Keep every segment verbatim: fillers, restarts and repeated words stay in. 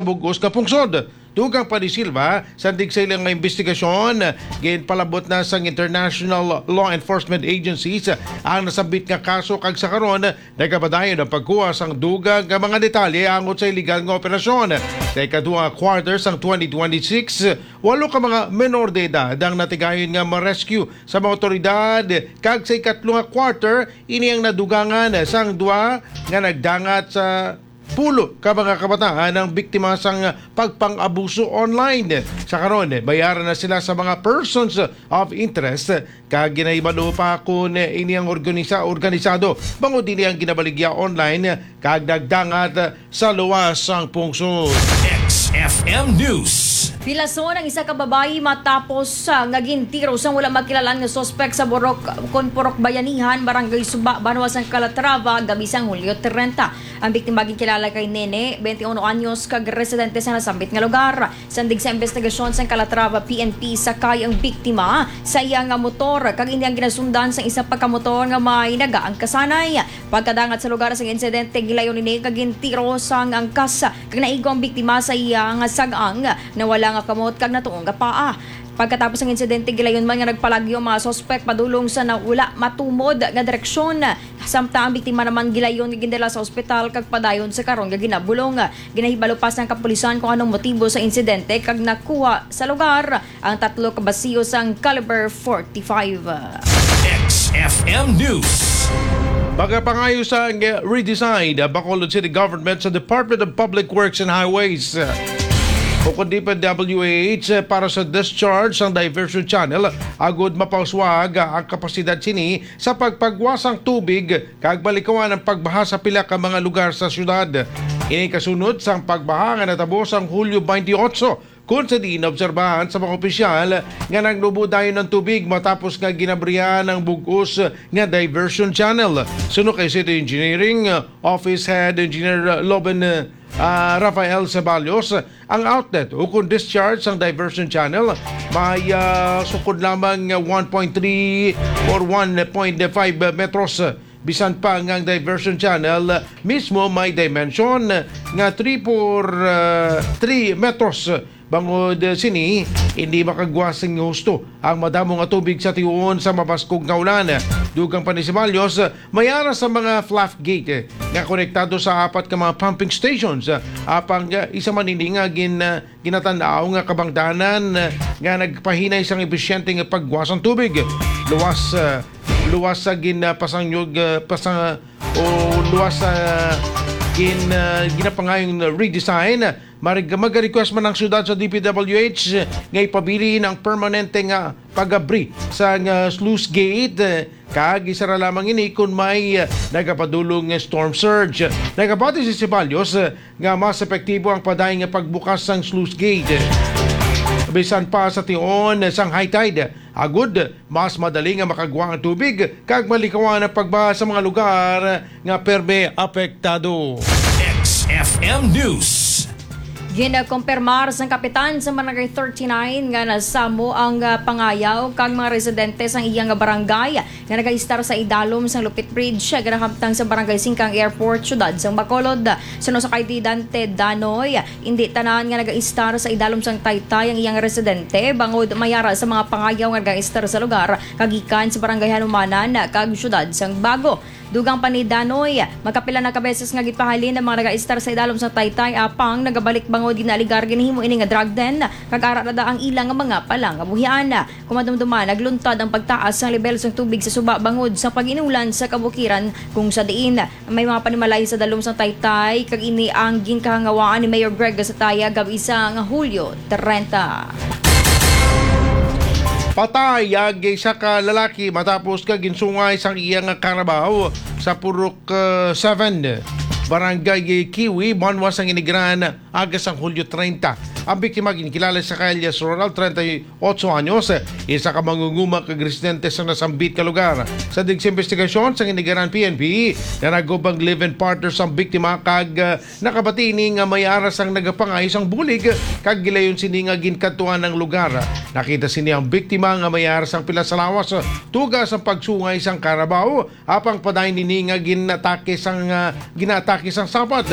bug-os nga pungsod. Dugang pa ni Silva, sandig sa ilang investigasyon, ginpalabot na sang international law enforcement agencies ang nasambit nga kaso kag sa karon nagapadayon ang pagkuha sang dugang nga mga detalye angot sa iligal nga operasyon. Sa ikaduha nga quarter sang twenty twenty-six, walo ka mga menor de edad ang natigayon nga ma-rescue sa mga otoridad, kag sa ikatlo nga quarter, ini ang nadugangan sang duha nga nagdangat sa pulo ka mga kabataan ang biktima sang pagpang-abuso online. Sa karon, bayaran na sila sa mga persons of interest, kag ginahibalo pa kon ini ang organisa-, organisado, bangod ini ang ginabaligya online kag nagdangat sa luwas sang pungsod. X F M News. Pilason ang isa ka babayi matapos, ah, nga gintiro sang wala makilalan nga suspek sa Borok, kon Purok Bayanihan, Barangay Suba, banwa sang Calatrava, gabi sang Hulyo trenta. Ang biktima ginkilala kay Nene, twenty-one anyos, kag residente sa nasambit nga lugar. Sandig sa investigasyon sang Calatrava P N P, sakay ang biktima sa iya nga motor, kag ini ang ginasundan sang isa pa ka motor nga may nagaangkasanay. Pagkadangat sa lugar sang insidente, gilayon ini kag gintiro sang angkas, kag naigo ang biktima sa iya nga sag-ang, nawala nga kamot kag natuong nga paa. Pagkatapos sang insidente, gilayon man nga nagpalagyo ang mga suspek padulong sa na-, wala matumod nga direksyon. Samtang ang biktima naman gilayon nga gindala sa ospital kag padayon sa karon nga ginabulong. Ginahibalo pa sang kapulisan kung anong motibo sa insidente kag nakuha sa lugar ang tatlo ka basiyo sang caliber forty-five. X F M News. Magapangayo sang redesign ang Bacolod City Government sa Department of Public Works and Highways, o kon D P W H, para sa discharge sang diversion channel, agud mapauswag ang kapasidad sini sa pagpagwa sang tubig kag malikawan ang pagbaha sa pila ka mga lugar sa siyudad. Ini kasunod sang pagbaha nga natabo sang Hulyo twenty-eight, kon sa diin naobserbahan sa mga opisyal nga nagnubo dayon ang tubig matapos nga ginabrihan ang bug-os nga diversion channel. Suno kay City Engineering Office Head Engineer Loben, ah, Rafael Ceballos, ang outlet ukon discharge sang diversion channel may, ah, sukod lamang nga one point three or one point five metros. Bisan pa nga ang diversion channel mismo may dimension nga three por, ah, three metros. Bangod sini, hindi makagwa sing husto ang madamo nga tubig sa tiuon sa mabaskog nga ulan. Dugang pa ni Ceballos, may ara sa mga fluff gate nga konektado sa apat ka mga pumping stations. Apang, ah, isa man ini nga gin-, ah, ginatan-aw nga kabangdanan, ah, nga nagpahinay sang episyente nga pagwa sang tubig. Luwas, ah, luwas sa gin-, ah, pasangyo-, ah, pasang-, o luwas sa gin-, ah, ginapangayong redesign, marig-, mag-request man ang siyudad sa D P W H nga ipabilin ang permanente nga pag-abri sa nga sluice gate, eh, kag isara lamang ini kon may, eh, nagapadulong nga storm surge. Nagapati si Ceballos, eh, nga mas epektibo ang padayon nga pagbukas sang sluice gate. Bisan pa sa tion sang high tide, agud mas madali nga makagwa ang tubig kag malikawan ang pagbaha sa mga lugar nga perme apektado. X F M News. Ginakumpirmar sang kapitan sa Barangay thirty-nine nga nasamo ang, ah, pangayaw kag mga residente sang iya nga barangay nga nagaistar sa idalom sang Lupit Bridge, ah, ginahamtang sa Barangay Singkang Airport, siyudad sang Bacolod. Suno sa kay Dante Danoy, indi tanan nga nagaistar sa idalom sang taytay ang iyang residente, bangod may ara sa mga pangayaw nga nagaistar sa lugar, kagikan sa Barangay Hanumanan kag siyudad sang Bago. Dugang pa ni Danoy, magkapila na ka beses nga gipahalin ang mga nagaistar sa idalom sang taytay, apang nagabalik bangod ginaaligar ginahimo ini nga drug den, kag ara na da ang ila nga mga palangabuhian. Kung madumduman, nagluntad ang pagtaas sang lebel sang tubig sa suba bangod sa pag-inulan sa kabukiran, kung sa diin may mga panimalay sa dalom sang taytay, kag ini ang ginkahangawaan ni Mayor Greg Gasataya gab-i sang Hulyo trenta. Patay ang isa ka lalaki matapos nga ginsungay sang iya nga karabaw sa Purok, uh, seven, Barangay Kiwi, banwa sang Inigaran, aga sang Hulyo trenta. Ang biktima ginkilala sa kay alias Ronald, treinta y ocho anyos, isa ka mangunguma kag residente sa nasambit ka lugar. Sa dig sa investigasyon sang Inigaran P N P, nanagop ang live-in partner sang biktima kag, ah, nakabati ini nga may ara sang nagapangayo sang bulig kag gilayon sini nga ginkadtuan ang lugar. Nakita sini ang biktima nga may ara sang pila sa lawas, tuga sang pagsungay sang karabaw, apang padayon ini nga ginatake sang, ah, ginatake Isang sabat,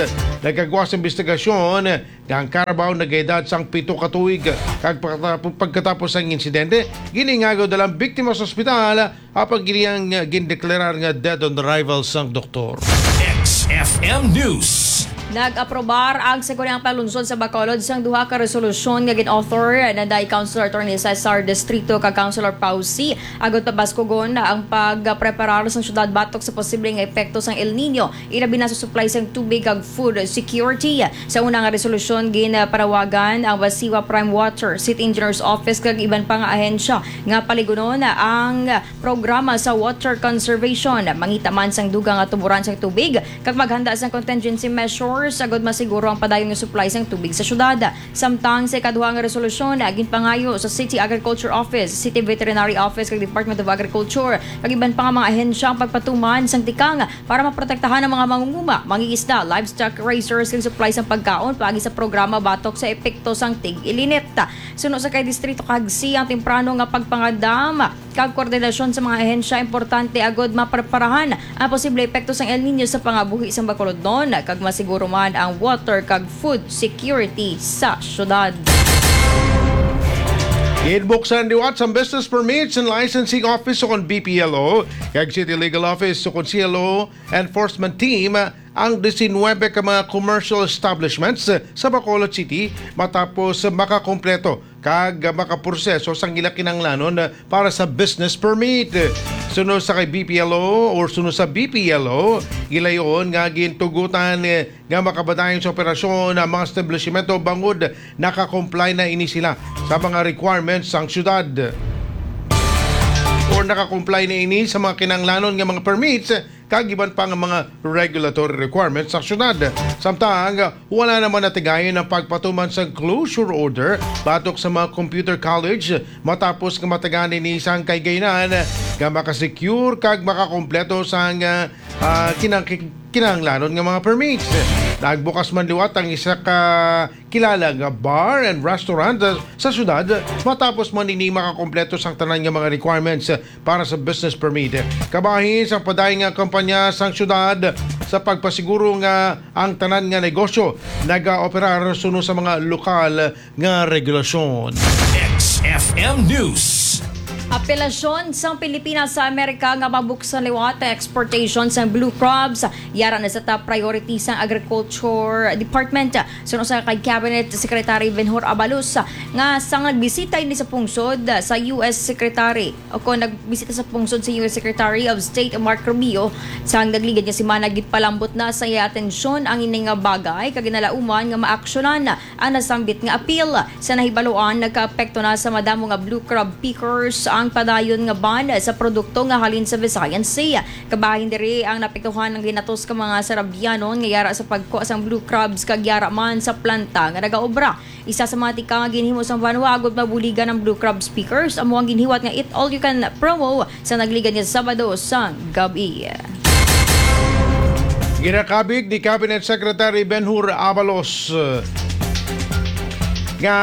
nagkagwa sa investigasyon nga ang karabaw nagaedad sang pito ka tuig, kag pagkatap-, pagkatapos sang insidente, giningagaw dalang biktima sa ospital, apang giniyang, uh, gindeklarar nga dead on arrival sang doktor. X F M News. Nag-aprobar ang Sangguniang Panlunsod sa Bacolod sang duha ka resolusyon nga gin-author na day Councilor Attorney Cesar Distrito kag Councilor Pausi, agod pabaskugon ang pagpreparar sang syudad batok sa posible nga epekto sang El Nino, ilabi na sa supply sang tubig kag food security. Sa una nga resolusyon, ginpanawagan ang Basiwa Prime Water, City Engineers Office kag iban pa nga ahensya nga paligunon ang programa sa water conservation, mangita man sang dugang nga tuburan sang tubig kag maghanda sang contingency measures agud masiguro ang padayon nga supply sang tubig sa syudad. Samtang sa ikaduha nga resolusyon, ginpangayo sa City Agriculture Office, City Veterinary Office kag Department of Agriculture kag iban pa nga mga ahensya ang pagpatuman sang tikang para maprotektahan ang mga mangunguma, mangingisda, livestock raisers kag supply sang pagkaon paagi sa programa batok sa epekto sang tig-ilinit. Suno sa kay Distrito Kagsi ang temprano nga pagpangadam kag koordinasyon sa mga ahensya importante agud mapreparahan ang posible epekto sang El Nino sa pangabuhi sang Bacolodnon kag masiguro man ang water kag food security sa syudad. Ginbuksan liwat sang business permits and licensing office o kon B P L O kag City Legal Office o kon C L O enforcement team ang diecinuebe ka mga commercial establishments sa Bacolod City matapos makakompleto kag makaproseso sang ila kinahanglanon para sa business permit. Suno sa kay B P L O or suno sa B P L O, gilayon nga gintugutan nga makabadayon sa operasyon ang mga establishmento bangod naka-comply na ini sila sa mga requirements sang syudad or naka-comply na ini sa mga kinahanglanon nga mga permits kag iban pa nga mga regulatory requirements sa syudad. Samtang wala naman natigayon ang pagpatuman sa closure order batok sa mga computer college matapos nga matagaan ini sang kahigayonan nga makasecure kag makakompleto sang, ah, ah, kinang-, kinahanglanon nga mga permits. Nagbukas man liwat ang isa ka kilala nga bar and restaurant sa syudad matapos man ini makakompleto sang tanan nga mga requirements para sa business permit. Kabahin sang padayon nga kampanya sang syudad sa pagpasiguro nga ang tanan nga negosyo nagaoperar suno sa mga lokal nga regulasyon. X F M News. Apelasyon sang Pilipinas sa Amerika nga mabuksan liwat ang exportation sang blue crabs, yara na sa top priority sang Agriculture Department. Suno sa kay Cabinet Secretary Benhur Abalos, nga sang nagbisita ini sa pungsod sa U S Secretary, o kon nagbisita sa pungsod sa U S Secretary of State Marco Rubio, sang nagligad nga semana, gipalambot na sa iya atensyon ang ini nga bagay kag ginalauman nga maaksyonan ang nasambit nga apil. Sa nahibaluan, nagkaapekto na sa madamo nga blue crab pickers ang padayon nga ban sa produkto nga halin sa Visayan Sea. Kabahin diri ang naapektuhan ang ginatos ka mga Sarabianon nga yara sa pagkuha sang blue crabs kag yara man sa planta nga nagaobra. Isa sa mga tikang nga ginhimo sang banwa agud mabuligan ang blue crabs pickers amo ang ginhiwat nga Eat All You Can promo sa nagligad nga Sabado sang gab-i. Ginakabig ni Cabinet Secretary Benhur Abalos, eh, nga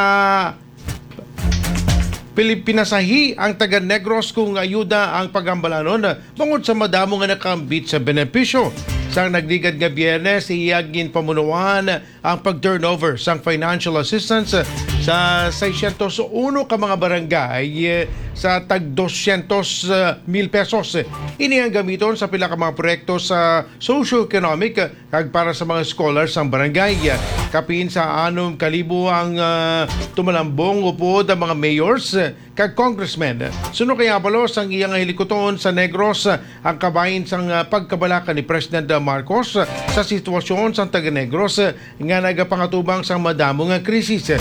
pili-, pinasahi ang taga Negros kung ayuda ang pagambalanon bangod sa madamo nga nakaambit sa benepisyo. Sang nagligad nga Biyernes, iya ginpamunuan ang pag-turnover sang financial assistance sa seiscientos uno ka mga barangay, eh, sa tag doscientos mil pesos. Ini ang gamiton sa pila ka mga proyekto sa socio-economic kag para sa mga scholars sang barangay. Kapin sa anom ka libo ang, ah, tumalambong upod ang mga mayors kag congressmen. Suno kay Abalos, ang iya nga hilikuton sa Negros ang kabahin sang, ah, pagkabalaka ni President Marcos sa sitwasyon sang taga Negros nga nagapangatubang sang madamo nga krisis.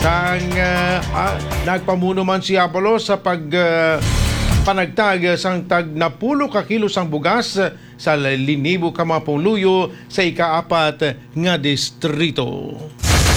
Sang, ah, ah, nagpamuno man si Abalos sa pag, ah, panagtag sang tag napulo ka kilo sang bugas sa linibo ka mga pumuluyo sa ikaapat nga distrito.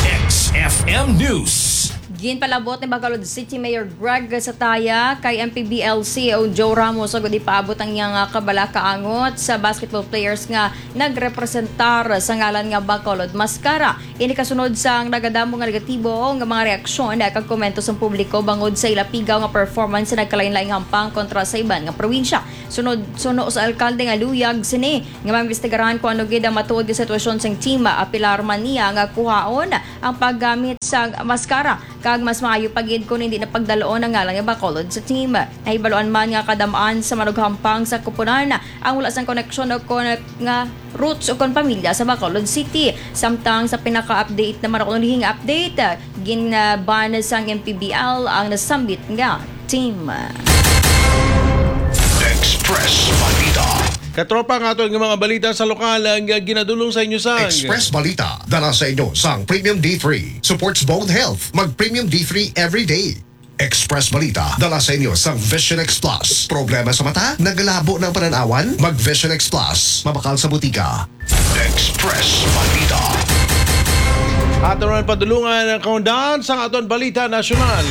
X F M News. Ginpalabot ni Bacolod City Mayor Greg Sataya kay M P B L C E O Joe Ramos agud ipaabot ang iyang, ah, kabalaka angot sa basketball players nga nagrepresentar sa ngalan nga Bacolod Mascara. Ini kasunod sang nagadamo nga negatibo nga mga reaksyon kag komento sang publiko bangod sa ila pigaw nga performance sa nagkalain-laing hampang kontra sa iban nga probinsya. Sunod, suno sa alkalde nga luyag sini nga maimbestigaran kung ano gid ang matuod nga sitwasyon sang team. Apilar man niya nga kuhaon ang paggamit sang maskara kag mas maayo pa gid kon hindi na pagdalon ang ngalan nga Bacolod sa team. Nahibaluan man nga kadam-an sa manughampang sa koponan ang wala sang koneksyon o kon nga roots o kon pamilya sa Bacolod City. Samtang sa pinaka-update naman ako nulihing update, gin-ban sang M P B L ang nasambit nga team. Express Balita. Katropa, ang aton nga mga balita sa lokal ang ginadulong sa inyo sang Express Balita, dala sa inyo sang Premium D three. Supports bone health. Mag Premium D three every day. Express Balita, dala sa inyo sang Vision X Plus. Problema sa mata? Nagalabo ng pananawan? Mag Vision X Plus. Mabakal sa butika. Express Balita. Aton man padulungan ang kaundahan sang aton balita nasyonal.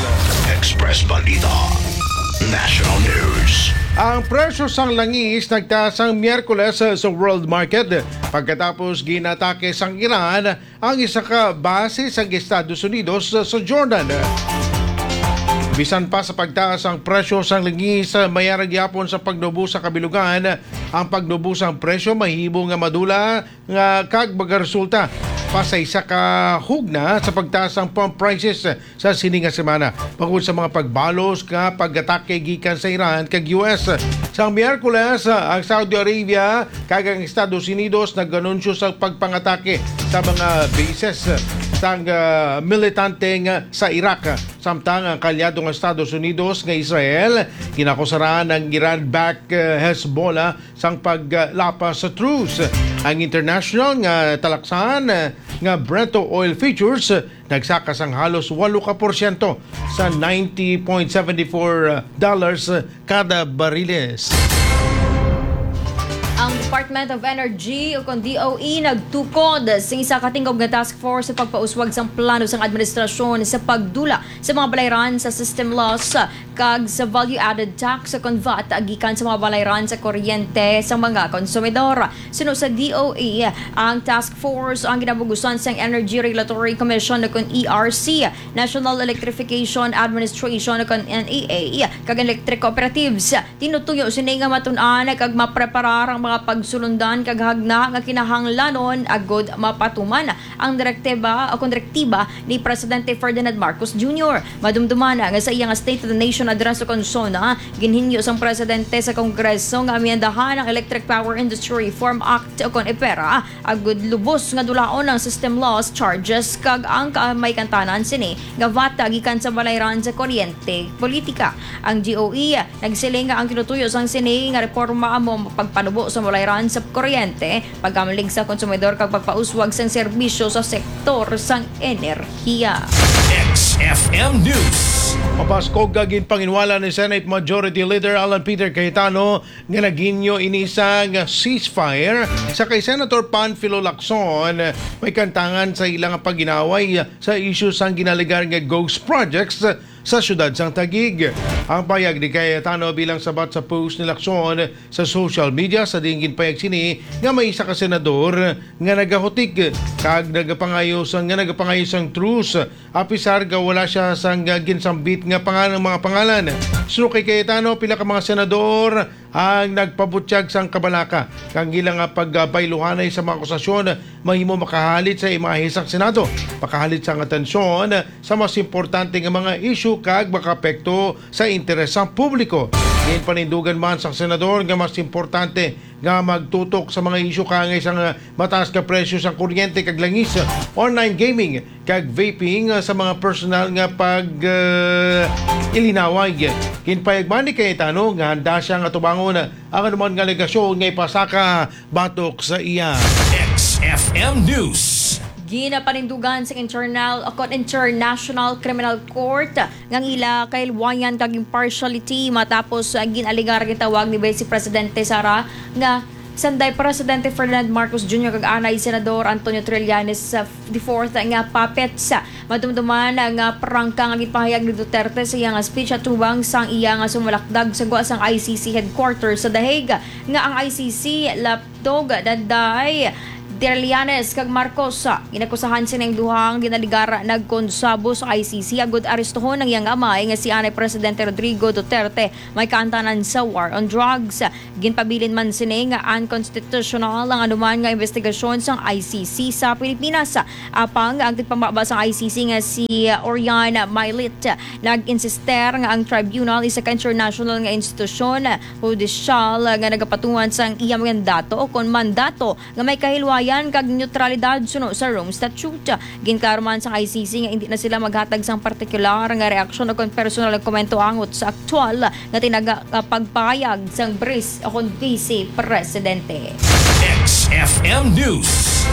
Express Balita National News. Ang presyo sang langis nagtaas sang Miyerkules sa world market pagkatapos ginatake sang Iran ang isa ka base sang Estados Unidos sa Jordan. Bisan pa sa pagtaas ang presyo sang langis, mayara gyapon sa pagnubo sa kabilugan. Ang pagnubo sang presyo mahimo nga madula nga kag magaresulta pa sa isa ka hugna sa pagtaas sang pump prices sa sini nga semana, bangod sa mga pagbalos nga pag-atake gikan sa Iran kag U S. Sang Miyerkules, ang Saudi Arabia kag ang Estados Unidos nag-anunsyo sa pagpangatake sa mga bases sang, ah, militante nga sa Iraq. Samtang ang kaalyado nga Estados Unidos nga Israel ginakusaran ang Iran-backed, ah, Hezbollah sang paglapas sa truce. Ang international nga talaksan nga Brent oil futures nagsaka sang halos walo ka porsyento sa ninety point seven four dollars kada bariles. Ang Department of Energy o kon D O E nagtukod sa isa ka tingog nga task force sa pagpauswag sang plano sang administrasyon sa pagdula sa mga balayran sa system loss kag sa value-added tax o kon vat gikan sa mga balayran sa kuryente sa mga konsumidor. Suno sa D O E, ang task force ang ginabugusan sang Energy Regulatory Commission o kon E R C, National Electrification Administration o kon N E A, kag electric cooperatives. Tinutuyo sini nga matun-an kag mapreparar ang mga pagsulundan kag hagna nga kinahanglanon agud mapatuman ang direktiba o kon direktiba ni Presidente Ferdinand Marcos Junior. Madumduman nga sa iya nga State of the Nation Address o kon SONA, ginhinyo sang Presidente sa Kongreso nga amyendahan ang Electric Power Industry Reform Act o kon EPERA, agud lubos nga dulaon ang system loss charges kag ang ka-, may kantanan sini nga vat gikan sa balayran sa kuryente politika. Ang D O E nagsiling nga ang tinutuyo sang sini nga reforma amo ang pagpanubo sa balayran sa kuryente, pagkamlig sa konsumidor kag pagpauswag sang serbisyo sa sektor sang enerhiya. X F M News. Mapaskog nga ginpanginwala ni Senate Majority Leader Alan Peter Cayetano nga naghinyo ini sang ceasefire sa kay Senator Panfilo Lacson may kantangan sa ilang pag-inaway sa isyu sang ginalegar nga ghost projects sa siyudad sang Taguig. Ang pahayag ni Cayetano bilang sabat sa post ni Lacson sa social media sa diin ginpahayag sini nga may isa ka senador nga nagahutik kag nagapangayo sang, nga nagapangayo sang truce, apisar nga wala siya sang ginsambit nga pangalan, mga pangalan. Suno kay Cayetano, pila ka mga senador ang nagpabutyag sang kabalaka kang ila nga pagbayluhanay sa mga akusasyon mahimo makahalit sa imahe sang Senado, makahalit sang atensyon sa mas importante nga mga isyu kag makaapekto sa interes sang publiko. Ginpanindugan man sang senador nga mas importante nga magtutok sa mga isyu kaangay sang mataas nga presyo sang kuryente kag langis, online gaming, kag vaping sa mga personal nga pag, ah, ilinaway. Ginpayagman ni Cayetano nga handa siya nga tubangon ang anuman nga alegasyon nga ipasaka batok sa iya. X F M News. Ginapanindugan sa internal o kon International Criminal Court nga ang ila kailwayan kag impartiality matapos, ah, gin-alegar gitawag ni Vice Presidente Sara nga Sanday Presidente Ferdinand Marcos Junior kag anay Senador Antonio Trillanes the fourth nga puppets. Madumduman nga prangka nga gipahayag ni Duterte sa iyang speech atubang sang iya nga sumalakdag sa gwa sang I C C headquarters sa The Hague, nga ang I C C laptog Danday, Trillanes kag Marcos. Inakusahan sining duhang ginaligara nagkonsabo sa I C C agud arestohon ang iyang amay nga si anay Presidente Rodrigo Duterte may kaantanan sa war on drugs. Ginpabilin man sini nga unconstitutional ang anuman nga investigasyon sang I C C sa Pilipinas. Apang ang tigpamaba sang I C C nga si Orion Mailit nag-insister nga ang tribunal isa ka international nga institusyon hudisyal nga nagapatuman sang iya mandato o kon mandato nga may kahilwayan kag neutralidad suno sa Rome Statute. Ginklaro man sang I C C nga indi na sila maghatag sang partikular nga reaksyon o kon personal nga komento angot sa aktual nga tinaga nga pagpahayag sang bris o kon vice presidente. X F M News.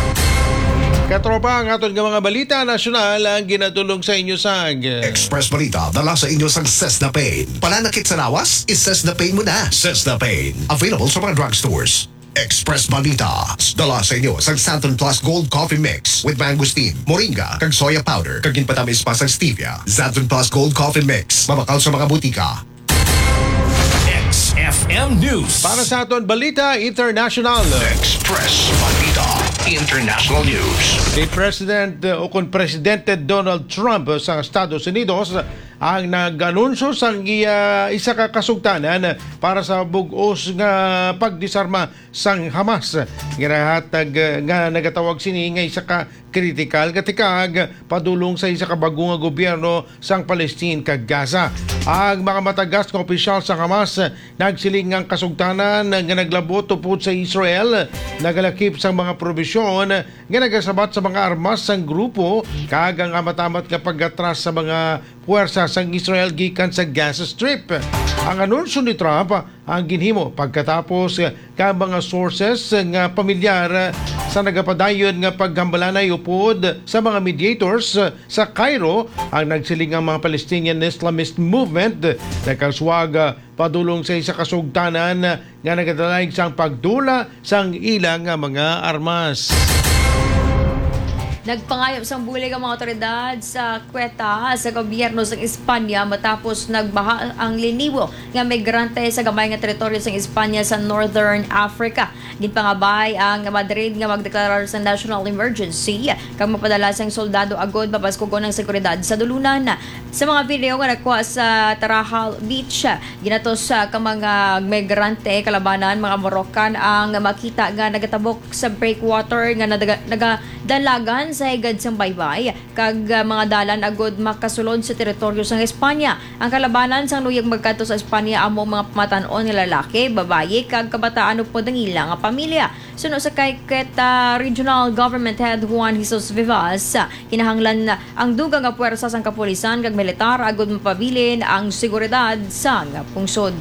Katropa, ang aton nga mga balita nasyonal ang ginadulong sa inyo sang Express Balita, dala sa inyo sang Sesda Pain. Pananakit sa lawas? Is Sesda Pain mo na. Sesda Pain. Available sa mga drugstores. Express Balita, dala sa inyo sang Santon Plus Gold Coffee Mix with mangosteen, moringa, kag soya powder, kag ginpatamis pa sang stevia. Santon Plus Gold Coffee Mix, mabakal sa mga butika. X F M News. Para sa aton balita international. Express Balita International News. Si President uh, o kon Presidente Donald Trump sa Estados Unidos ang nag-anunsyo sang iya isa ka kasugtanan para sa bug-os nga pagdisarma sang Hamas. Ginahatag uh, nga nagatawag sini nga isa ka kritikal nga tikag padulong sa isa ka bag-o nga gobyerno sang Palestine kag Gaza. Ang mga matagas nga opisyal sa Hamas nagsiling nga ang kasugtanan nga naglabot upod sa Israel nagalakip sang mga probisyon nga nagasabat sa mga armas sang grupo kag ang amat-amat nga pag-atras sa mga puwersa sang Israel gikan sa Gaza Strip. Ang anunsyo ni Trump ang ginhimo pagkatapos ka mga sources nga pamilyar sa nagapadayon nga paghambalanay upod sa mga mediators sa Cairo ang nagsiling nga mga Palestinian Islamist Movement nakaswag padulong sa isa ka sugtanan nga nagadalayag sang pagdula sang ila nga mga armas. Nagpangayo sang bulig ang mga otoridad sa Quetta sa gobyerno sang Espanya matapos nagbaha ang linibo nga migrante sa gamay nga teritoryo sang Espanya sa Northern Africa. Ginpangabay ang Madrid nga magdeklarar sa national emergency kag mapadala sang soldado agod mapaskugon ang seguridad sa dulunan. Sa mga video nga nakuha sa Tarahal Beach, ginatos sa ka mga migrante kalabanan mga Moroccan ang makita nga nagatabok sa breakwater nga nadaga- nagadalagan sa higad sang baybay kag ah, mga dalan agud makasulod sa teritoryo sang Espanya. Ang kalabanan sang luyag magkadto sa Espanya amo ang mga pamatan-on nga lalaki, babayi kag kabataan upod ang ila nga pamilya. Suno sa kay Quetta Regional Government Head Juan Jesus Vivas, kinahanglan ang dugang nga puwersa sang kapulisan kag militar agud mapabilin ang seguridad sang pungsod.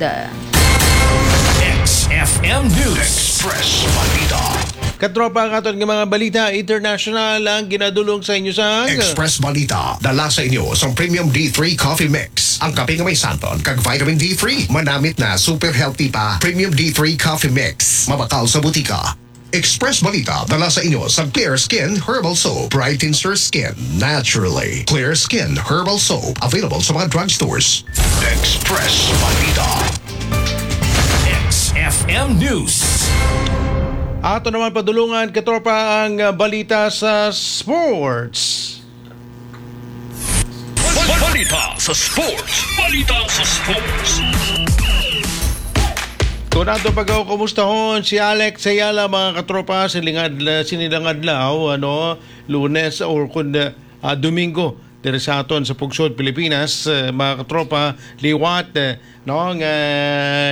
X F M News. Express Balita. Katropa, ang aton nga mga balita international ang ginadulong sa inyo sang Express Balita, dala sa inyo sang Premium D three Coffee Mix. Ang kape nga may santon kag vitamin D three, manamit na, super healthy pa. Premium D three Coffee Mix, mabakal sa butika. Express Balita, dala sa inyo sang Clear Skin Herbal Soap. Brightens your skin naturally. Clear Skin Herbal Soap, available sa mga drugstores. Express Balita. X F M News. Ato naman padulungan, katropa, ang ah, balita sa sports. Balita sa sports. Balita sa sports. Kung ato pag kumustahon si Alex Ayala, mga katropa, siling adla, sinilang adlaw, ano, Lunes or kun ah, Domingo, diri sa aton sa Pugsod, Pilipinas, ah, mga katropa, liwat, ah, no, nga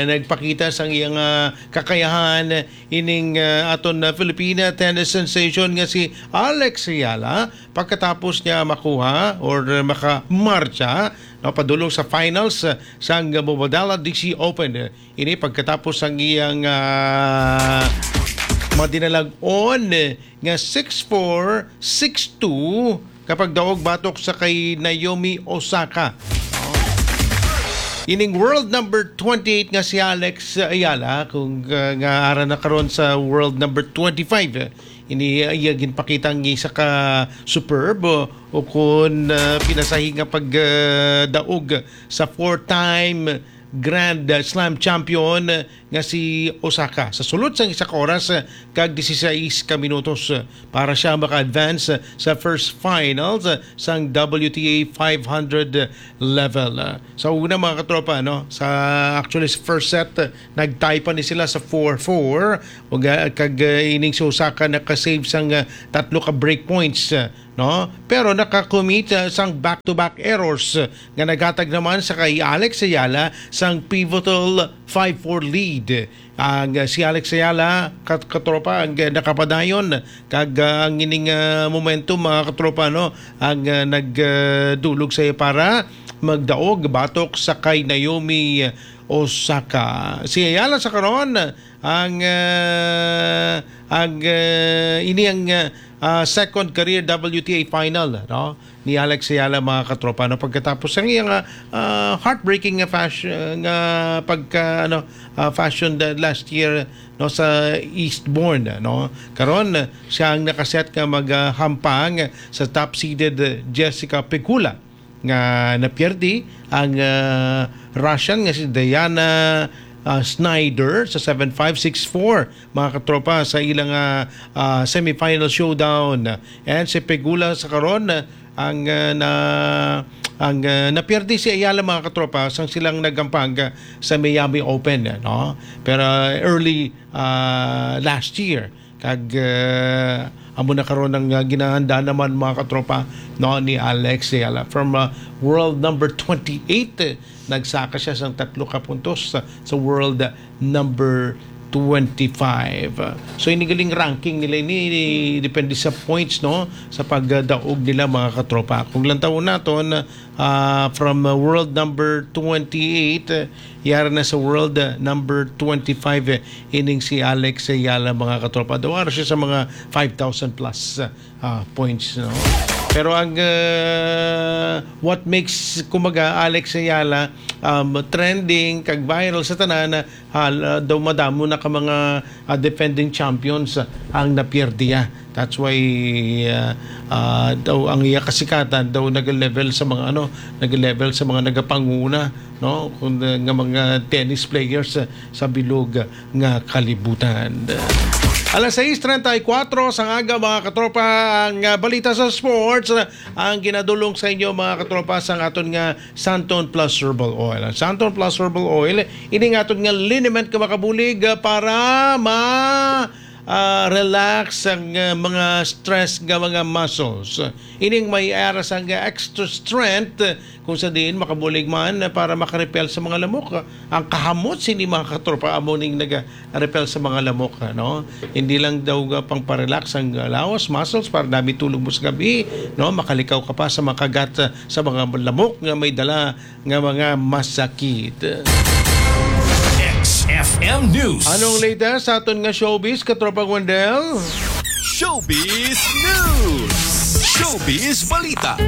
nagpakita sang iyang ah, kakayahan ining ah, aton ah, Filipina tennis sensation nga si Alex Ayala pagkatapos niya makuha or makamarcha, no, padulong sa finals ah, sang Mubadala D C Open. Ini pagkatapos sang iyang ah, madinalag-on nga six four, six two kapag daog batok sa kay Naomi Osaka. Ining world number twenty-eight nga si Alex Ayala, kung, uh, nga ara na karon sa world number twenty-five, eh, ini, uh, iya ginpakita ang isa ka superb, uh, o kun, uh, pinasahi nga pagdaog sa four-time Grand Slam champion, uh, nga si Osaka. Sa sulod sang isa ka oras, uh, kag disisais ka minutos, uh, para siya maka-advance, uh, sa first finals, uh, sang W T A five hundred level. Uh, sa una, mga katropa, no, sa, actually, sa first set, uh, nag-tie pa ni sila sa four four. Ug, uh, kag, uh, ining si Osaka naka-save sang, uh, tatlo ka break points, uh, no? Pero naka-commit, uh, sang back-to-back errors, uh, nga naghatag naman sa kay Alex Ayala sang pivotal five four lead. Ang, uh, si Alex Ayala, kat-, katropa, ang, uh, nakapadayon kag, uh, ang ining, uh, momentum, mga katropa, no, ang, uh, nag, uh, dulog sa iya para magdaog batok sa kay Naomi Osaka. Si Ayala sa karon ang, uh, ang, uh, ini ang, uh, uh, second career W T A final, no, ni Alex Ayala, mga katropa, no, pagkatapos ang iyang, uh, uh, heartbreaking nga fashion, nga pagka, ano, uh, fashion the last year, no, sa Eastbourne, no. Karon, uh, siya ang nakaset nga maghampang sa top seeded, uh, Jessica Pegula nga napiyerdi ang, uh, Russian nga si Diana, uh, Snyder sa seven five, six four, mga katropa, sa ilang, uh, uh, semifinal showdown. And si Pegula sa karon, uh, ang, uh, na ang, uh, napiyerdi si Ayala, mga katropa, sang silang nagampang, uh, sa Miami Open, uh, no? Pero, uh, early, uh, last year, kag, uh, amo na karon ang, uh, ginahanda naman, mga katropa, no, ni Alex Ayala. From, uh, world number twenty-eight, uh, nagsaka siya sang tatlo ka puntos sa, sa world number twenty-five. So, ini galing ranking nila ini, ini depende sa points, no, sa pagdaog nila, mga katropa. Kung lantawon naton, ah, from, ah, world number twenty-eight, ah, yara na sa world, ah, number twenty-five, eh, ining si Alex Ayala, mga katropa. Daw ara siya sa mga five thousand plus, ah, points, no? Pero ang, ah, what makes, kumbaga, Alex Ayala, um, trending kag viral sa tanan, ah, hal-, ah, daw madamo na ka mga, ah, defending champions, ah, ang napierdiya. That's why, ah, ah, daw ang iya kasikatan daw nag-level sa mga, ano, nag-level sa mga nagapanguna, no? Kung, ah, nga mga tennis players, ah, sa bilog, ah, nga kalibutan. Alas sais treinta y cuatro sang aga, mga katropa, ang, ah, balita sa sports, ah, ang ginadulong sa inyo, mga katropa, sang aton nga Santon Plus Herbal Oil. Ang Santon Plus Herbal Oil, ini nga aton nga liniment nga makabulig, ah, para ma, ah, relax ang, ah, mga stress nga mga muscles. Ining may ara sang extra strength, kung sa diin makabulig man para makarepel sa mga lamok. Ang kahamot sini, mga katropa, amo ning naga-repel sa mga lamok, no? Hindi lang daw nga pang-relax ang lawas, muscles, para dami tulog mo sa gabi, no? Makalikaw ka pa sa makagat, ah, sa mga lamok nga may dala nga mga masakit. X F M News. Anong latest sa aton nga showbiz, Katropang Wendell? Showbiz News. Showbiz Balita.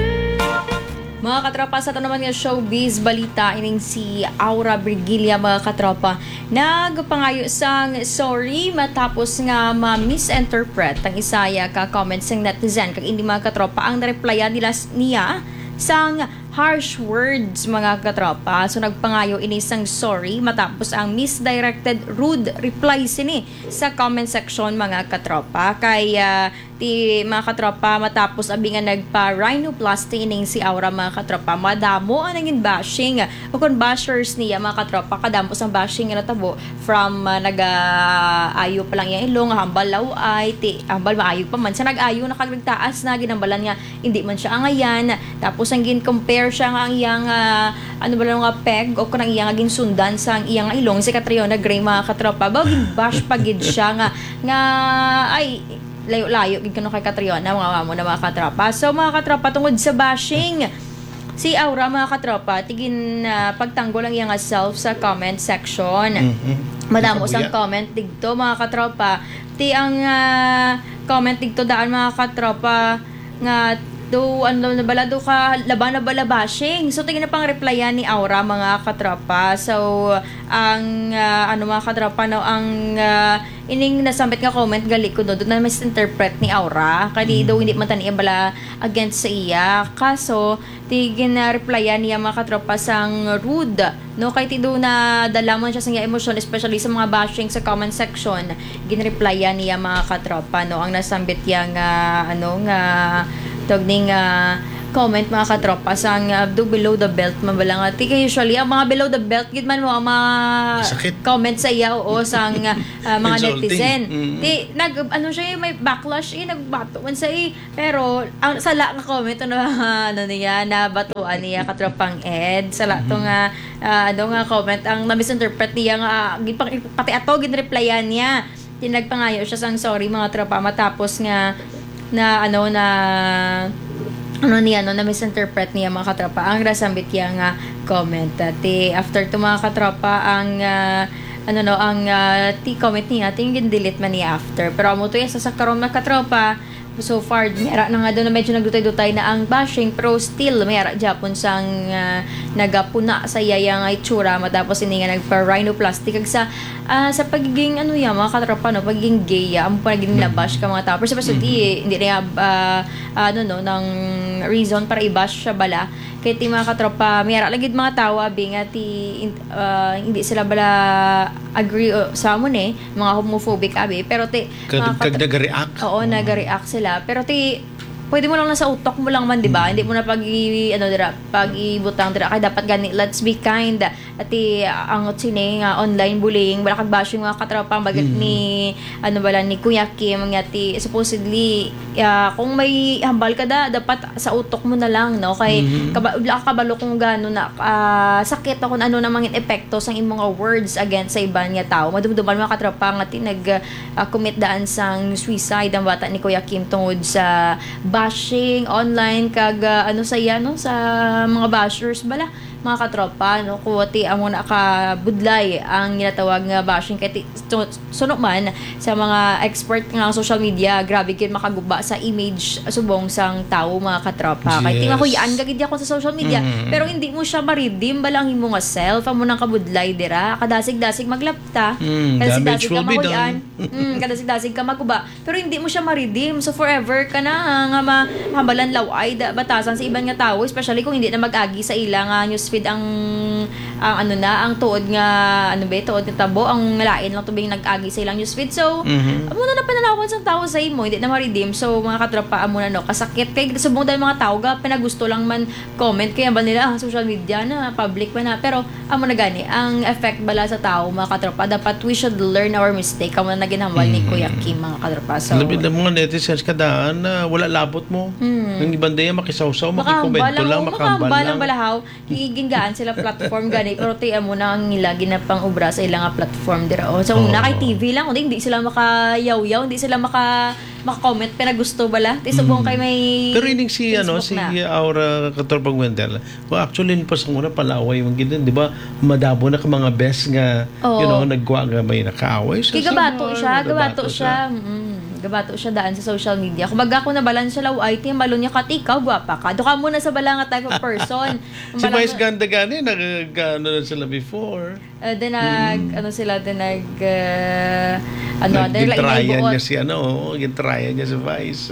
Mga katropa, sa aton naman nga showbiz balita, ining si Aura Brigilla, mga katropa, nagpangayo sang sorry matapos nga ma-misinterpret ang isa ya ka comments sang netizen. Kag ini, mga katropa, ang nareplyan nila s-, niya sang harsh words, mga katropa. So, nagpangayo ini sang sorry matapos ang misdirected rude reply sini sa comment section, mga katropa. Kay, ah, ti, mga katropa, matapos abi nga nagpa-rhinoplasty ining si Aura, mga katropa, madamo ang nangin bashing. O kung bashers niya, mga katropa, kadamo sang bashing nga natabo from, ah, nag-aayo pa lang iyang ilong, hambal law-ay, ti, hambal maayo pa man. Sa nag-ayo na kag nagtaas na, ginhambalan nga hindi man siya angayan. Tapos ang gin-compare siya nga ang iyang, ah, ano ba lang nga peg o kanang iyang ginsundan sa ang iyang ilong si Catriona Gray, mga katropa. Ba, gin-bash pa gid siya nga, nga, ay, layo-layo gid kuno kay Catriona, mga amo na, mga katropa. So, mga katropa, tungod sa bashing, si Aura, mga katropa, tigin, ah, pagtanggol ang iyang self sa comment section. Mhm. Madamo sang Nakabuya. Comment digto, mga katropa. Ti ang, ah, comment digto daan, mga katropa, nga Do, ano na bala, do ka laban na bala bashing. So, tingin na pang replyan ni Aura, mga katropa. So, ang, ah, ano, mga katropa, no, ang, ah, ining nasambit nga comment, gali ko, no, doon na misinterpret ni Aura. Kaya di, Mm. do, hindi man tani bala against sa iya. Kaso, di gina-replyan niya, mga katropa, sang rude. No, kay ti do na dala man siya sa iya emosyon, especially sa mga bashing sa comment section. Ginreplyan niya, mga katropa, no, ang nasambit niya nga, ano, nga tawag ni nga comment, mga katropa, sang, ah, do below the belt man bala nga. Ti kay usually, ang mga below the belt, gid man mo, ang mga Masakit. comment sa iya, oo, sang, ah, mga Insulting. netizen. Mm. Ti, nag, ano siya, eh, may backlash, eh, nagbato man sa, eh, pero ang sala nga comment, ano, ano niya, nabatuan niya, katropang Ed. Sala to Mhm. nga, ah, ano nga comment, ang na-misinterpret niya nga, ah, gipang-, pati ato, ginreplyan niya. Tinagpangayo siya sang sorry, mga tropa, matapos nga na, ano, na, ano niya, no, na-misinterpret niya, mga katropa, ang rasambit niya nga comment. Ati, after to, mga katropa, ang, ah, ano, no, ang, ah, ti comment niya, ting gin-delete man niya after. Pero amo to yung sa, sa karon, mga katropa, so far, may ara na nga daw na medyo nagdutay-dutay na ang bashing, pero still, may ara gyapon sang, ah, nagapuna sa iya nga itsura matapos ini nga nagpa-rhinoplasty. Kag sa, ah, sa pagiging, ano yan, mga katropa, no, pagiging gay, ah, amo pa naging Mm. nabash ka mga tao. Pero sa Mm. hindi, hindi na, ah, ano, no, ng reason para i-bash siya bala. Kaya ti mga katropa, may ara lang gid mga tao, abi, nga ti, in-, ah, hindi sila bala agree, uh, sa amo ni, mga homophobic, abi. Pero ti, Kag, mga kag katro-, nag-react. Oo, Mm. nag-react sila. Pero ti, pwede mo lang na sa utok mo lang man, di ba? Mm. Hindi mo na pag i-, ano, dira, pag ibutang dira. Kaya dapat gani, let's be kind. Ati, ang sini nga online bullying, wala kag bashing, mga katropa, ang bagay Mm. ni, ano bala, ni Kuya Kim, nga ti, supposedly, ah, kung may hambal ka da, dapat sa utok mo na lang, no? Kay, Mhm. kaba-, wala ka kabalo kung gaano na, ah, sakit o kung ano na mangin epekto sang imong nga words against sa iban nga tao. Madumduman, mga katropa, nga ti, nag, ah, commit daan sang suicide ang bata ni Kuya Kim tungod sa bashing online kag, ah, ano sa iya, no, sa mga bashers bala, mga katropa, no, kuwati amo na ka budlay ang ginatawag nga bashing kay ti-, su-, suno man sa mga expert nga ang social media, grabe gyud makaguba sa image subong sang tawo, mga katropa. Kay ti Yes. mahuy-an ka gid ako sa social media, Mm. pero hindi mo siya ma-redeem bala ang imo nga self, amo nang kabudlay dira, kadasig-dasig maglapta, Mm, kadasig-dasig damage ka will be mahuy-an. done. Mm, kadasig-dasig ka maguba, pero hindi mo siya ma-redeem. So, forever ka na, ah, nga ma-, mahambalan law-ay da-, batasan sa iban nga tawo, especially kung hindi na mag-agi sa ila nga newsfeed ang, ang ano na, ang tuod nga, ano ba, tuod nga tabo, ang lain lang tubing nag-agi sa ilang newsfeed. So, Mhm. amo na napananawan sang tawo sa imo, hindi na ma-redeem. So, mga katropa, amo na, no, kasakit kay subong dahil mga tawo ga pinagusto lang man comment, kaya ba nila, ah, social media na, public man na. Pero, amo na gani, ang effect bala sa tao, mga katropa, dapat we should learn our mistake. Amo na ginhambal ni Mm. Kuya Kim, mga katropa. So, labi na mga netizens kadaan na wala labot mo. Mm. Ang iban din, makisawsaw, Makahambal makikomento lang, lang, oh, makahambal makahambal lang lang. bala, haw. Gigingaan sila platform gani, pero ti amo na ang ila ginapang-obra sa ila nga platform dira. Oh. So, Oo. na kay T V lang, hindi, hindi sila makayawyaw, hindi sila maka-, maka-comment, pero gusto bala. Ti subong Mm. kay may Pero ining si, ano, Facebook si na. Aura Katropang Wendell, well, actually, pa sa una, palaway man gid, di ba? Madamo na ka mga best nga, Oo. you know, nagkuha nga may nakaaway. So, Kay gabato sa mga siya, gabato gabato siya. siya. Mm, gabato siya daan sa social media. Kumbaga, kung nabalan siya, law, ay, timbalo niya, "Kat ikaw, gwapa ka." Do ka muna sa bala nga type of person. Ang Si bala Vice nga Ganda gani, nag-, ano na sila before. Eh, then nag-, Mm. ano sila, then nag-, eh, ano, then like, Nag-, gintryan naibuot. niya si, ano, oo, gintryan niya si Vice.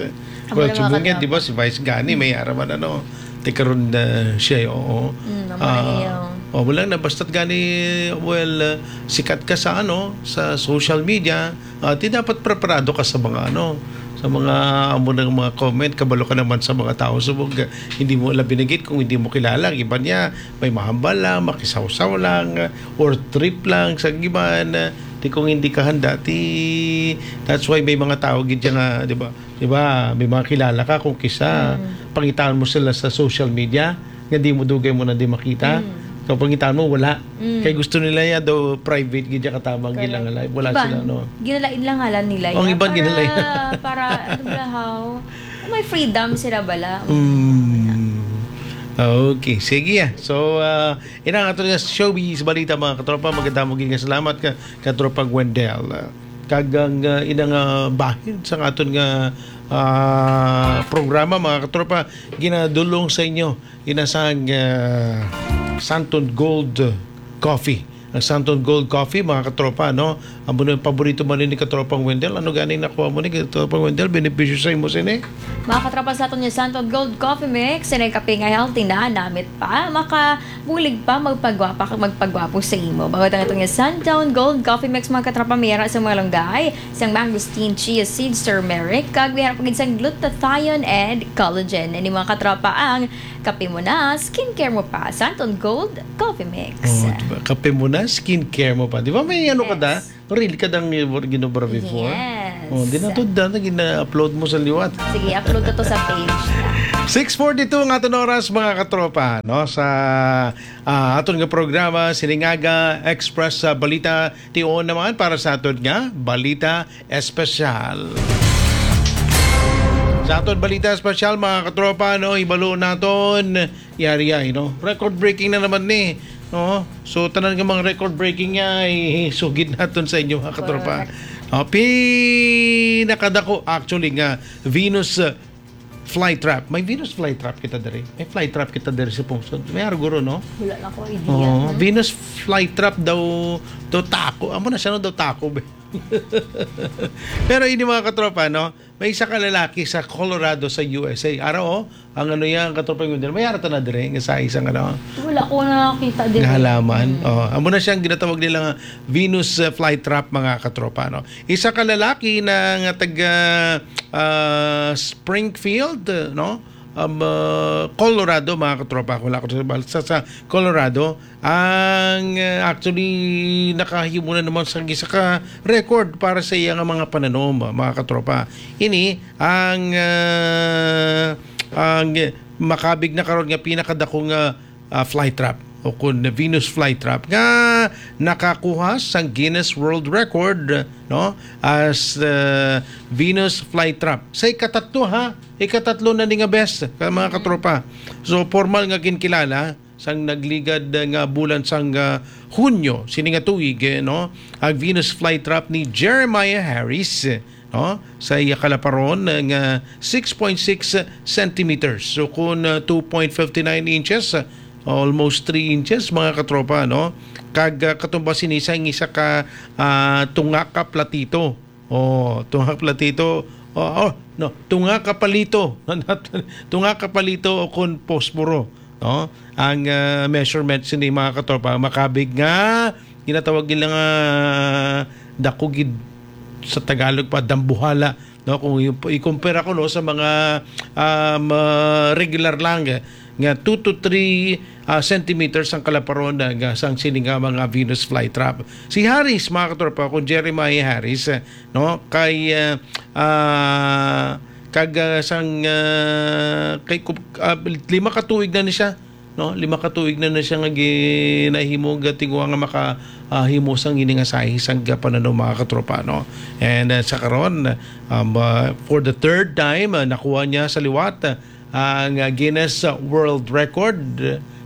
Ang Well, wala subong yan, makakatama. di ba, si Vice gani, may araman, ano, ti karon na siya, oo. Mm, ang Ah, mga iyo. oh, wala na, basta't gani, well, ah, sikat ka sa, ano, sa social media, ah, ti dapat preparado ka sa mga, ano, sa mga, amo nang mga comment, kabalo ka naman sa mga tao, subong, ah, hindi mo alam binigit kung hindi mo kilala, ang iba niya, may mahambal lang, makisawsaw lang, or trip lang sa giban. Ti kung hindi ka handa, ti, that's why may mga tao gid nga, di ba? Di ba? May mga kilala ka kung kisa, Mm. pangitaan mo sila sa social media, nga di mo dugay mo na di makita. Mm. So, pangitaan mo, wala. Mm. Kay gusto nila yan daw private gid ya katabang Correct. ilang live. Wala Iban, sila, no? ginalain lang ngalan nila Ang yan. iban Para, ginalain. para, ano ba, how? May freedom sila bala. Mm. Okay, sige, ah. So, ah, ina nga to nga showbiz balita, mga katropa. Maganda mo gid nga salamat ka, katropa Gwendel. Ah, kag ang, ah, ina nga bahin sa aton nga, ah, programa, mga katropa, ginadulong sa inyo, ginasang, ah, Santon Gold Coffee. Ang Santon Gold Coffee, mga katropa, no? Amo na yung paborito man ni katropang Wendell. Ano gani nakuha mo ni katropang Wendell? Benepisyo sa imo sini? Mga katropa, sa aton nga Santon Gold Coffee Mix, sa kape nga healthy na, namit pa, makabulig pa, magpagwapa, kag magpagwapo sa imo. Bangod ang aton nga Santon Gold Coffee Mix, mga katropa, may ara sa mga lunggay, sang mangosteen, chia seeds, turmeric, kag may ara pa gid sang glutathione and collagen. Ini, mga katropa, ang kape mo na, skincare mo pa. Santon Gold Coffee Mix. Oh, diba? Kape mo na, skincare mo pa. Di ba may ano ka da? Yes. Reel ka dang ginobra before? Yes. Oh, di na to da, na gina-upload mo sa liwat. Sige, upload ko to sa page. Six forty-two ang aton oras, mga katropa, no? Sa, ah, aton nga programa, Siningaga Express, ah, Balita, tion naman para sa aton nga Balita Espesyal. Sa aton Balita Espesyal, mga katropa, no, ibalo naton, yari ay, no? Record breaking na naman ni, no? So, tanan nga mga record breaking niya, isugid naton sa inyo, mga katropa. Correct. Oh, pinakadako, actually, nga Venus, uh, flytrap. May Venus flytrap kita diri. May flytrap kita diri sa pungsod. May ara guro, no? Wala lang ko idea, Oh, no? Venus flytrap daw, daw tako. Amo na siya, no? Daw tako, be. Pero ini, mga katropa, no? May isa ka lalaki sa Colorado sa U S A. Ara, oh, ang ano yan, ang katropang Wendell. May ara ta na dire, nga sa isang ano, Wala ko nakakita din. Nga halaman. Mm. Oh, amo na siyang ginatawag nila nga Venus, uh, flytrap, mga katropa, no? Isa ka lalaki na nga taga, ah, Springfield, no? Um, uh, Colorado, mga katropa. Wala ko sa, sa, sa Colorado. Ang, uh, actually, nakahimo na naman sa isa ka record para sa iya nga mga pananom, mga katropa. Ini, ang, uh, ang makabig na karon nga pinakadako nga, uh, flytrap o kun Venus flytrap nga nakakuha sang Guinness World Record, no, as, uh, Venus flytrap. Sa ikatatlo, ha? Ikatatlo na ni nga best, ka-, mga katropa. So, formal nga ginkilala sang nagligad nga bulan sang, ah, Hunyo sini nga tuig, eh, no, ang Venus flytrap ni Jeremiah Harris, eh, no, sa iya kalaparon, eh, nga six point six centimeters. So, kun, ah, two point fifty nine inches, ah, almost three inches, mga katropa, no? Kag, ah, katumbas sini sa isa ka, ah, tunga ka platito. Oh, tunga ka platito. Oh, oh, no, tunga ka palito. Tunga ka palito o kon posporo, no? Ang, ah, measurement sini, mga katropa, makabig nga ginatawag nila nga dako gid sa Tagalog pa, dambuhala, no? Kung i-, i-compare ako, no, sa mga, um, ah, regular lang, eh, nga two to three, ah, centimeters ang kalaparon, ah, nga sang sini nga mga Venus flytrap. Si Harris, mga katropa, kung Jeremiah Harris, eh, no, kay, ah, ah, kag, ah, sang, ah, kay ku-, ah, lima ka tuig na ni siya, no? Lima ka tuig na na siya nga ginahimo, gatingwa nga maka, ah, himo sang ini nga size sang pananom, mga katropa, no? And, ah, sa karon, um, ah, for the third time, ah, nakuha niya sa liwat, ah, ang, ah, Guinness, ah, World Record,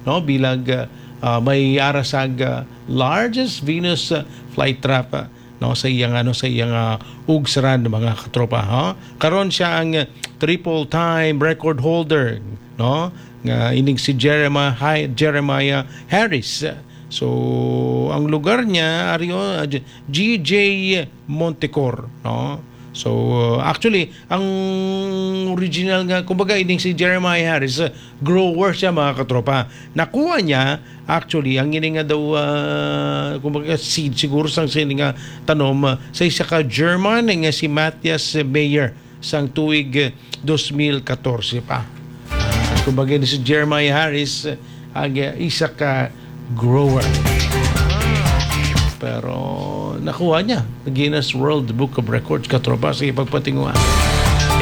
no? Bilang, ah, ah, may ara sang, ah, largest Venus, ah, flytrap, ah, no, sa iyang, ano, sa iyang, ah, ugsaran, mga katropa, ha? Karon siya ang, ah, triple time record holder, no, nga ining si Jeremiah, Jeremiah Harris. So, ang lugar niya, ari, oh, ah, G J Montecor, no? So, uh, actually, ang original nga, kumbaga, ining si Jeremiah Harris, uh, grower siya, mga katropa. Nakuha niya, actually, ang ini nga daw, uh, kumbaga, seed siguro sang sini nga tanom, uh, sa isa ka German nga si Matthias Meyer sang tuig, uh, dos mil katorse pa. Kumbaga, ni si Jeremiah Harris, uh, ang, uh, isa ka grower. Pero nakuha niya Guinness World Book of Records, katropa, sa ipagpatinguha.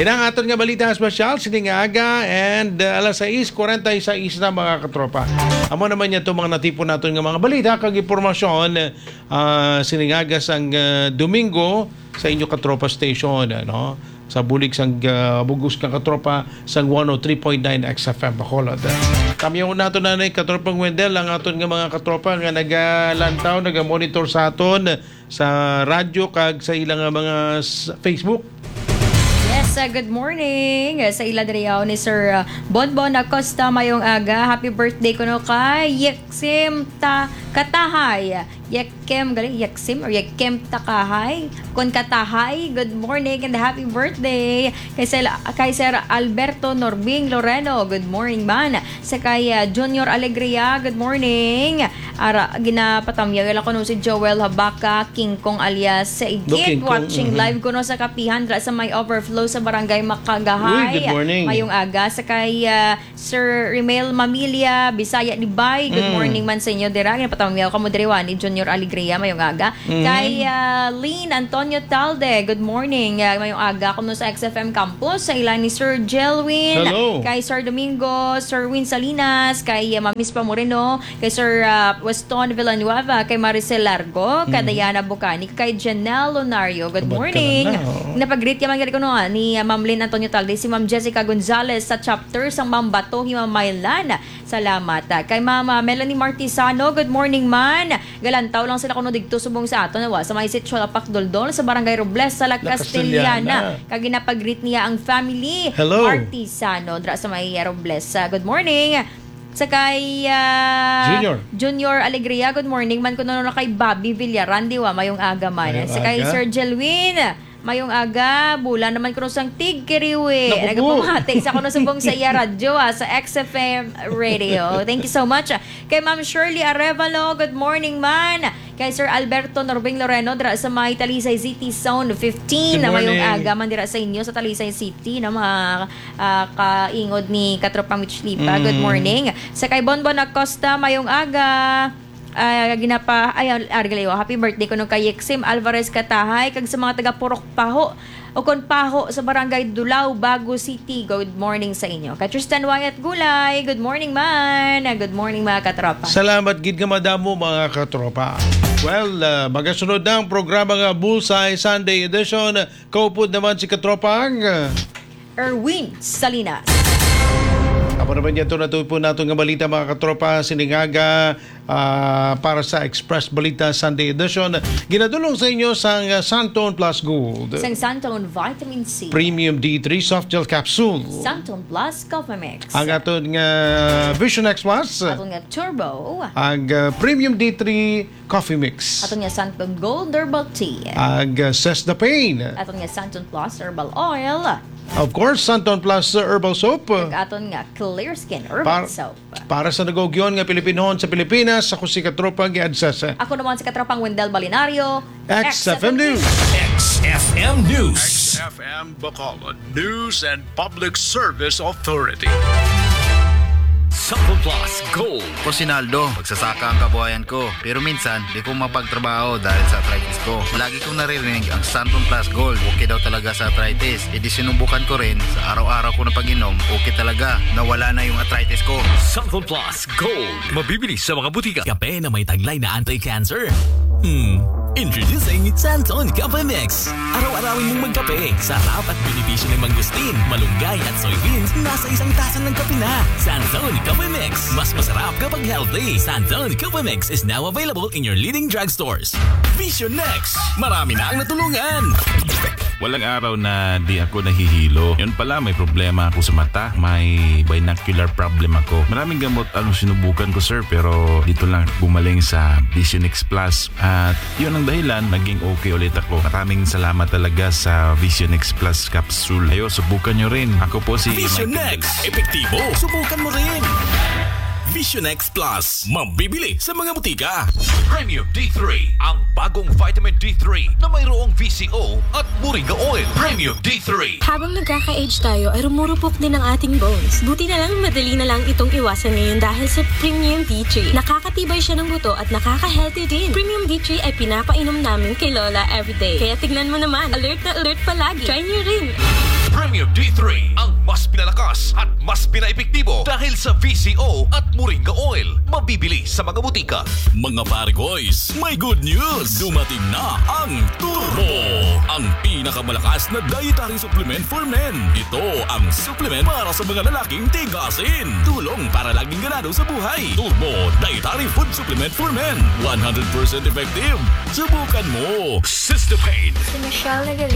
Yan ang aton nga balita espesyal sining aga, and, uh, alas sais kwarenta y seis na, mga katropa. Amo naman niya itong mga natipon naton nga mga balita kag impormasyon, uh, sining aga sang, uh, Domingo sa inyo katropa station, ano? Sa bulig sang, ah, bugos nga katropa sang one oh three point nine X F M Bacolod. Kamyaw naton na ni katropang Wendell ang aton nga mga katropa nga nagalantaw, nagamonitor sa aton sa radyo kag sa ilang nga mga s-, Facebook. Yes, Sa good morning, sa ila diri yaw ni Sir, uh, Bonbon Acosta, mayong aga. Happy birthday kuno kay Yeksim Ta-, Katahay. Yekem, gali, Yeksim or Yekem Takahay? Kon Katahay, good morning and happy birthday. Kay Sel-, kay Sir Alberto Norbing Loreno, good morning man. Sa kay, uh, Junior Alegria, good morning. Ara, ginapatamyaw lang kuno si Joel Habaka Kingkong alias Igit, Kingkong, watching mhm. live kuno sa kapihan dra sa may overflow sa Barangay Makagahay. Uy, good morning. Mayong aga. Sa kay, ah, Sir Rimel Mamilya, Bisaya Dibay, good Mm. morning man sa inyo dira. Ginapatamyaw kamo diri wa ni Junior Alegria, mayong aga. Mm. Kay, ah, Lynn Antonio Talde, good morning. Ah, mayong aga kuno sa X F M Campus, sa ila ni Sir Jelwin, Hello. kay Sir Domingo, Sir Win Salinas, kay, ah, Ma'am Miss Pamoreno, kay Sir, ah, Weston Villanueva, kay Maricel Largo, kay Mhm. Diana Bucani, kay Janelle Lonario. Good Abot ka morning. lang na, oo. Napag-greet ka man gali kuno, ah, ni, ah, Ma'am Lynn Antonio Talde, si Ma'am Jessica Gonzalez sa chapter sang Mambato, Himamaylan. Salamat. Ah, kay Ma'am, ah, Melanie Martisano, good morning man. Galantaw lang sila kuno digto subong sa aton, wa, sa may Sitio Lapak Doldol, sa Barangay Robles, sa La La Castellana. Castellana. Kag ginapag-greet niya ang family Hello. Martisano, dra sa may Robles. Ah, good morning. Sa kay, ah, Junior. Junior Alegria, good morning man kuno na kay Bobby Villaran, di wa, mayong aga man. Mayong Sa kay aga. Sir Jelwin, mayong aga, bulan naman kuno sang tigkiriwi. Naku po. Nagapamati sa kuno subong sa iya radyo, ah, sa X F M Radio. Thank you so much. Kay Ma'am Shirley Arevalo, good morning man. Kay Sir Alberto Norbing Loreno, dira sa may Talisay City, Zone fifteen. Good Na mayong morning. aga man dira sa inyo sa Talisay City, na mga ah, kaingod ni Katropang Mitch Lipa. Good Mm. morning. Sa kay Bonbon Acosta, mayong aga. Ah, ginapa-, ay, ah, Argaliwa, happy birthday kuno kay Yexim Alvarez Katahay, kag sa mga taga Purok Paho, o kon Paho, sa Barangay Dulao, Bago City. Good morning sa inyo. Kay Tristan Wyatt Gulay, good morning man. Ah, good morning, mga katropa. Salamat gid nga madamo, mga katropa. Well, ah, magasunod na ang programa nga Bullseye Sunday Edition. Kaupod naman si katropang Erwin Salinas. Amo naman niya to, natupon nato nga balita, mga katropa, sining aga, ah, para sa Express Balita Sunday Edition. Ginadulong sa inyo sang, ah, Santon Plus Gold. Sang Santon Vitamin C. Premium D three Soft Gel Capsule. Santon Plus Coffee Mix. Ang aton nga Vision X Plus. Aton nga Turbo. Ang, ah, Premium D three Coffee Mix. Aton nga Santon Gold Herbal Tea. Ag, uh, Cess the Pain. Aton nga Santon Plus Herbal Oil. Of course, Santon Plus Herbal Soap. Ag aton nga Clear Skin Herbal Par-, Soap. Para sa nag-ugyon nga Pilipinhon sa Pilipinas, ako si Katropang Gad Sese. Ako naman si Katropang Wendell Balinario. X F M News. X F M News. X F M Bacolod. News and Public Service Authority. Santon Plus Gold. Ako si Naldo, magsasaka ang kabuhayan ko. Pero minsan, di ko mapagtrabaho dahil sa arthritis ko. Lagi kong naririnig ang Santon Plus Gold. Okay daw talaga sa arthritis. E di sinubukan ko rin. Sa araw-araw ko na pag-inom, okay talaga. Nawala na yung arthritis ko. Santon Plus Gold. Mabibili sa mga butika. Kape na may taglay na anti-cancer. Hmm. Introducing Santon Cafe Mix. Araw-arawin mong magkape. Sarap at benepisyo ng mangosteen, malunggay at soybeans nasa isang tasa ng kape na. Santon Cafe Mix. Mas masarap kapag healthy. Santon Cafe Mix is now available in your leading drugstores. Vision Next. Marami na ang natulungan. Walang araw na di ako nahihilo. Yun pala, may problema ako sa mata. May binocular problem ako. Maraming gamot ang sinubukan ko, sir, pero dito lang gumaling sa Vision X Plus. At yun ang dahilan, naging okay ulit ako. Maraming salamat talaga sa Vision X Plus Capsule. Ayo, subukan nyo rin. Ako po si Vision Michael X. Epektibo. Subukan mo rin. Vision X Plus. Mabibili sa mga butika. Premium D three, ang bagong vitamin D three na mayroong V C O at moringa oil. Premium D three. Habang nagkaka-age tayo, ay rumurupok din ang ating bones. Buti na lang, madali na lang itong iwasan ngayon dahil sa Premium D three. Nakakatibay siya ng buto at nakaka-healthy din. Premium D three ay pinapainom namin kay Lola everyday. Kaya tignan mo naman, alert na alert palagi. Try niyo rin. Premium D three, ang mas pinalakas at mas pinaepektibo dahil sa V C O at moringa oil. Mabibili sa mga butika. Mga pare boys, may good news! Dumating na ang Turbo, ang pinakamalakas na dietary supplement for men. Ito ang supplement para sa mga lalaking tigasin. Tulong para laging ganado sa buhay. Turbo Dietary Food Supplement for Men. One hundred percent effective. Subukan mo. Sister Pain. Si Michelle Nagal-